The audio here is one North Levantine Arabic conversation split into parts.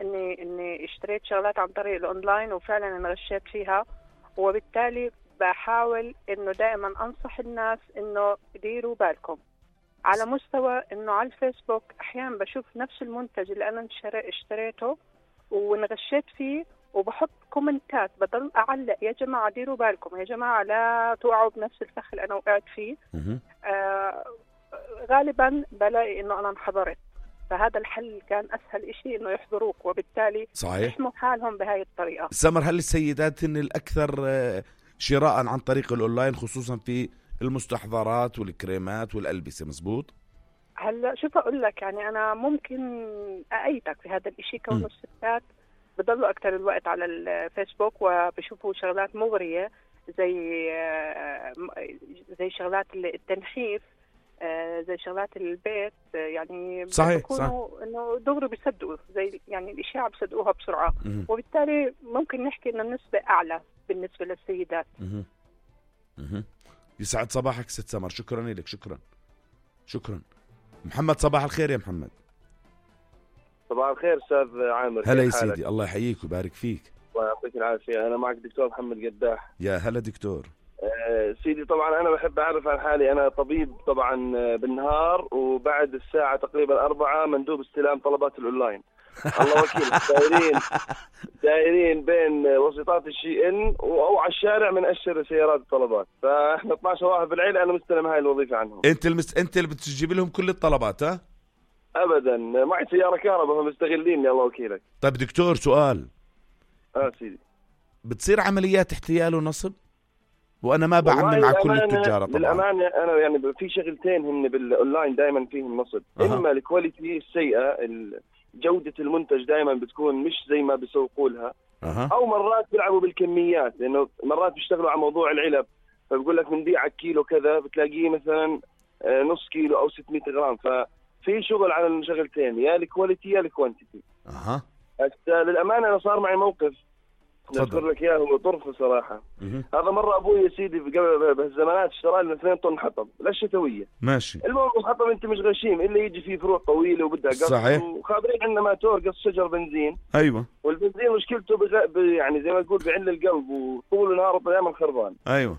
اني اشتريت شغلات عن طريق الاونلاين وفعلا انغشيت فيها، وبالتالي بحاول انه دائما انصح الناس انه ديروا بالكم. على مستوى انه على الفيسبوك احيانا بشوف نفس المنتج اللي انا اشتريته وانغشيت فيه، وبحط كومنتات بضل اعلق يا جماعه ديروا بالكم، يا جماعه لا توقعوا بنفس الفخ اللي انا وقعت فيه. غالبا بلاقي انه انا انحضرت، فهذا الحل كان اسهل إشي انه يحضروك، وبالتالي يحموا حالهم بهاي الطريقه. سمر، هل السيدات هن الاكثر شراء عن طريق الاونلاين، خصوصا في المستحضرات والكريمات والالبسه؟ مزبوط. هلا شوف اقول لك، يعني انا ممكن اأيدك في هذا الإشي، كون الستات بضلوا اكثر الوقت على الفيسبوك وبشوفوا شغلات مغريه زي شغلات التنحيف، زي شغلات البيت، يعني صحيح انه دغري بيصدقوا، زي يعني الاشاعه بيصدقوها بسرعه، وبالتالي ممكن نحكي انه النسبه اعلى بالنسبه للسيدات. يسعد صباحك ست سمر، شكرا لك. شكرا. محمد، صباح الخير يا محمد. صباح الخير استاذ عامر. هلا يا سيدي، الله يحييك ويبارك فيك. الله يعطيك العافيه. انا معك دكتور محمد قداح. يا هلا دكتور. سيدي، طبعا انا بحب اعرف عن حالي، انا طبيب طبعا بالنهار، وبعد الساعه تقريبا 4 مندوب استلام طلبات الاونلاين. الله وكيل. دايرين بين وسيطات الشي ان او على الشارع من اشر سيارات الطلبات، فاحنا 12 واحد بالعيله انا مستلم هاي الوظيفه عنهم. انت اللي بتجيب لهم كل الطلبات؟ ها ابدا، معي سياره كهرباء فمستغليني. الله وكيلك. طيب دكتور، سؤال. سيدي، بتصير عمليات احتيال ونصب؟ وانا ما بعمم مع كل التجاره طبعا. للامانه انا يعني في شغلتين هن بالاونلاين دائما فيهم نصب. اما الكواليتي السيئه، جوده المنتج دائما بتكون مش زي ما بيسوقوا لها، او مرات بيلعبوا بالكميات، لانه مرات بيشتغلوا على موضوع العلب، فبقول لك بنبيعك كيلو كذا بتلاقيه مثلا نص كيلو او 600 غرام. ففي شغل على الشغلتين، يا الكواليتي يا الكوانتيتي. للامانه انا صار معي موقف نذكر لك اياه، هو طرف صراحه. هذا مره ابوي يا سيدي قبل بهالزمانات اشترى لنا 2 طن حطب للشتويه. ماشي. المهم الحطب انت مش غشيم الا يجي فيه فروع طويله وبدها قص. صحيح. وخابرين عندنا ماتور قص شجر بنزين. ايوه. والبنزين مشكلته يعني زي ما تقول بعل القلب، وطول النهار طيام خربان. ايوه.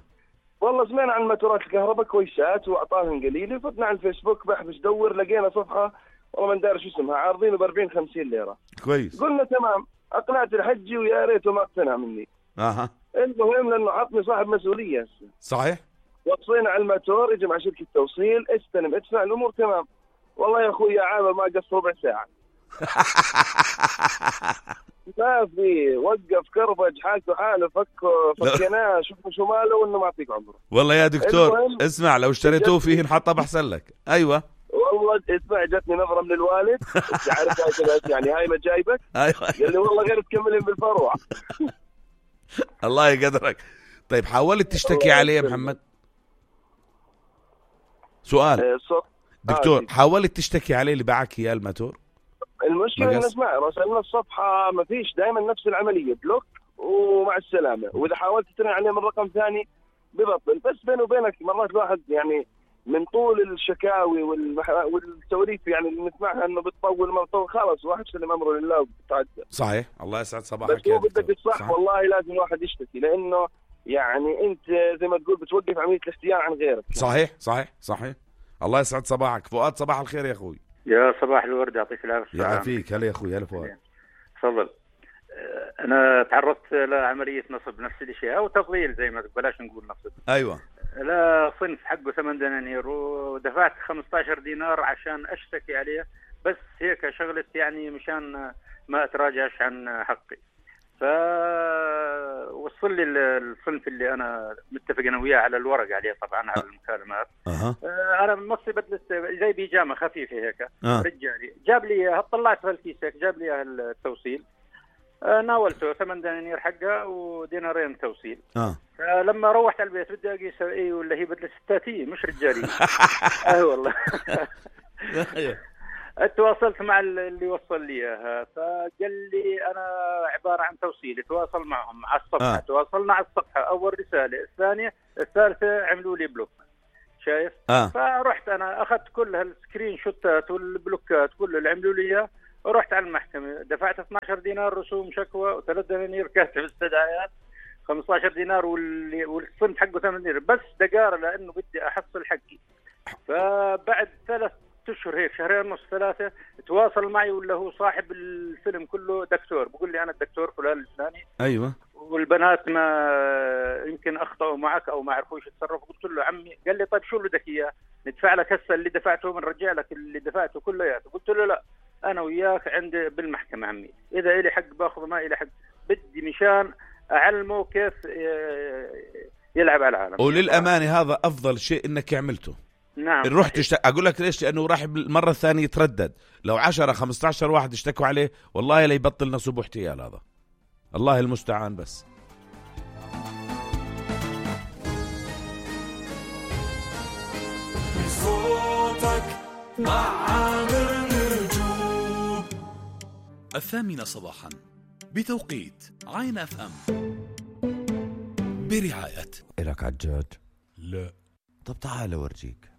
والله سمعنا عن ماتورات الكهرباء كويسات واعطاهم قليله، فتنا على الفيسبوك بحث دور لقينا صفحه والله ما ندري شو اسمها، عارضينه ب 40-50 ليره. كويس. قلنا تمام، اقنعت الحجي ويا ريته ما اقتنع مني. المهم لانه حطني صاحب مسؤوليه هسه. صحيح. وصينا على الماتور، يجي مع شركه توصيل، استلم ادفع، الامور تمام. والله يا اخوي يا عامر ما قص ربع ساعه. ما في، وقف كربج حالته حاله، فكناه شوفوا شو ماله وانه ما يعطيك عمره. والله يا دكتور اسمع، لو اشتريتوه فيه انحطب احسن لك. ايوه والله اسمع، جاتني نظره من الوالد، انت عارف هاي يعني هاي ما جايبك. ايوه. قال لي والله غير تكملين بالفروع. الله يقدرك. طيب حاولت تشتكي عليه يا محمد؟ سؤال دكتور، حاولت تشتكي عليه اللي باعك اياه الماتور؟ المشكله ان اسمع، راسلنا الصفحه ما فيش، دائما نفس العمليه، بلوك ومع السلامه، واذا حاولت تترن عليه من رقم ثاني ببطل. بس بيني وبينك مرات الواحد يعني من طول الشكاوي والسواليف يعني اللي نسمعها انه بتطول ما بتطول، خلاص واحد سلم امره لله وبتعدى. صحيح. الله يسعد صباحك. بس هو بدك الصح، والله لازم الواحد يشتكي، لانه يعني انت زي ما تقول بتوقف عمليه الاحتيال عن غيرك. صحيح. الله يسعد صباحك. فؤاد، صباح الخير يا اخوي. يا صباح الورد، يعطيك العافيه. يعافيك. هلا يا اخوي. هلا فؤاد. تفضل. انا تعرضت لعمليه نصب، نفس الشيء او تضليل زي ما بلاش نقول نصب. ايوه. لا، صنف حقه 8 دنانير، ودفعت 15 دينار عشان اشتكي عليه، بس هيك شغلت يعني مشان ما اتراجعش عن حقي. فوصل لي الصنف اللي انا متفق انا وياه على الورق عليه طبعا على المكالمات. انا مصي بدلت زي بيجامه خفيفه هيك. رجالي جاب لي اياها، طلعت الكيس هيك، جاب لي اياها التوصيل، ناولته 8 دنانير حقها ودينارين توصيل. فلما روحت على البيت بدي اقيس ايه ولا هي بدلت ستاتيه مش رجاليه. والله. تواصلت مع اللي وصل لي اياها، فقال لي انا عباره عن توصيل. تواصل معهم على الصفحه. تواصلنا على الصفحه، اول رساله، الثانيه، الثالثه عملوا لي بلوك. شايف؟ فرحت انا اخذت كل هالسكرين شوتات والبلوكات كله اللي عملوا لي اياه، ورحت على المحكمة، دفعت 12 دينار رسوم شكوى و3 دنانير كاتب استدعاءات، 15 دينار والصنف حقه 8 دينار، بس دقارة لأنه بدي أحصل حقي. فبعد 3 أشهر هيك، 2.5 3 تواصل معي، ولا هو صاحب الفيلم كله دكتور، بقول لي أنا الدكتور فلان الفلاني. أيوة. والبنات ما يمكن أخطأوا معك أو ما عرفوش يتصرفوا. قلت له عمي، قال لي طيب شو اللي بدك إياه؟ ندفع لك هسه اللي دفعته بنرجع لك اللي دفعته كلياته. قلت له لا، أنا وياك عندي بالمحكمة عمي، إذا إلي حق باخذ، ما إلي حق بدي مشان أعلمه كيف يلعب على العالم. وللأمانة هذا أفضل شيء إنك عملته. نعم. رحت أقول لك ليش؟ لأنه راح المرة الثانية يتردد. لو 10-15 واحد اشتكوا عليه والله لا يبطل نصب واحتيال. هذا الله المستعان. بس صوتك مع عامر نجوم 8 صباحا بتوقيت عين اف ام، برعاية. إلك عجاج؟ لا. طب تعال اورجيك.